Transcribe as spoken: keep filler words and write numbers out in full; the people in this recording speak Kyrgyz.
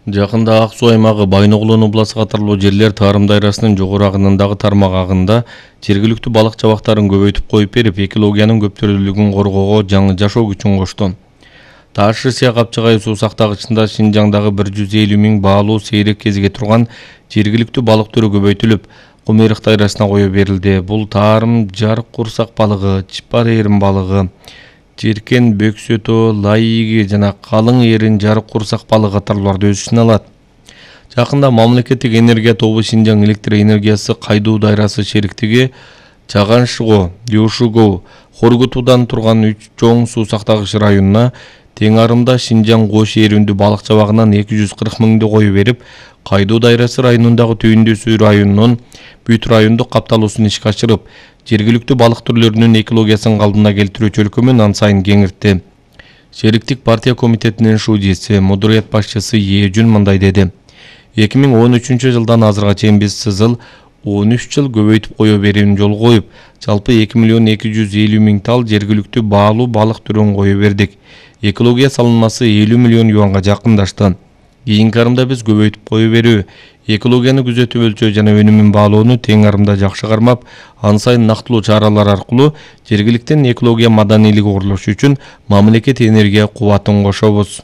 Жакында Ак суу аймагы Байноголон областы катарлуу жерлер Тарым дайрасынын жогору агынындагы тармак агында жергиликтүү балык чабактарын көбөйтүп коюп берип, экологиянын көптүрлүүлүгүн коргоого жаңы жашоо күчүн кошту. Таш-Рысия Капчыгай суу сактагычында Шинжаңдагы бир жүз элүү миң баалуу сейрек кезиге турган жергиликтүү балык түрү көбөйтүлүп, Кумерик дайрасына коюп берилди. Бул Тарым жарык курсак балыгы, чыпар эрин балыгы, Жеркен бөксөтө, лайыги жана калың эрин жарык курсак балыгы катарларды өз ичине алат. Жакында мамлекеттик энергия тобу Шинжаң электр энергиясы Кайдуу дайрасы шериктиги Чаган-Шыго, Юшуго, Хоргутуудан турган үч чоң суу сактагыч районуна тең арымда Шинжаң кош эрүндүү балык чабагынан эки жүз кырк миңди коюп берип, Кайдуу дайрасы районундагы Түйүндү районунун бүт райондук капталуусун ишке ашырып, жергиликтүү балык түрлөрүнүн экологиясын калдына келтирүү чөлкөмүн ан сайын кеңиртти. Шериктик партия комитетинин шудиси, модурият башчысы Ежүн мындай деди: эки миң он үчүнчү жылдан азыркыга чейин биз сызыл он үч жыл көбөйтүп кое берүүнү жолго коюп, жалпы эки миллион эки жүз элүү миң тал жергиликтүү баалуу балык түрүн коюп бердик. Экология салынмасы элүү миллион юанга жакындашты. Кийинки арымда биз көбөйтүп кое берүү, экологияны күзөтүп өлчөө жана өнүмүн баалоону тең арымда жакшы кармап, ан сайын нактылуу чаралар аркылуу жергиликтин экология маданийлиги курулушу үчүн мамлекет энергия кубатын кошобуз.